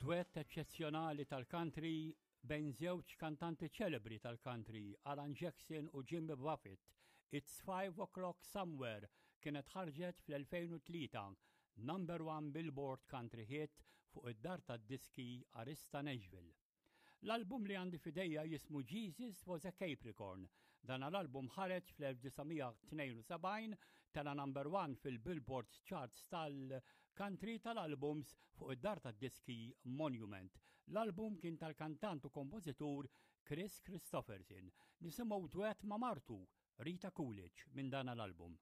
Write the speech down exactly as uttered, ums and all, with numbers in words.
Dwett eċċezzjonali tal-country bejn żewġ kantanti ċelebri tal-country, Alan Jackson u Jimmy Buffett. It's Five O'Clock Somewhere kienet ħarġet fl-elfejn u tlieta, number one Billboard Country Hit fuq id-dar tad-diski Arista Nashville. L-album li għandi f'idejja jismu Jesus Was a Capricorn. Dan l-album ħareġ fl-elf disa' mija tnejn u sebgħin, tela' number one fil-Billboard charts tal-country tal-albums fuq id-dar tad-diski Monument. L-album kien tal-kantant u kompożitur Kris Kristofferson. Nisimgħu duet ma' martu Rita Coolidge minn dan l-album.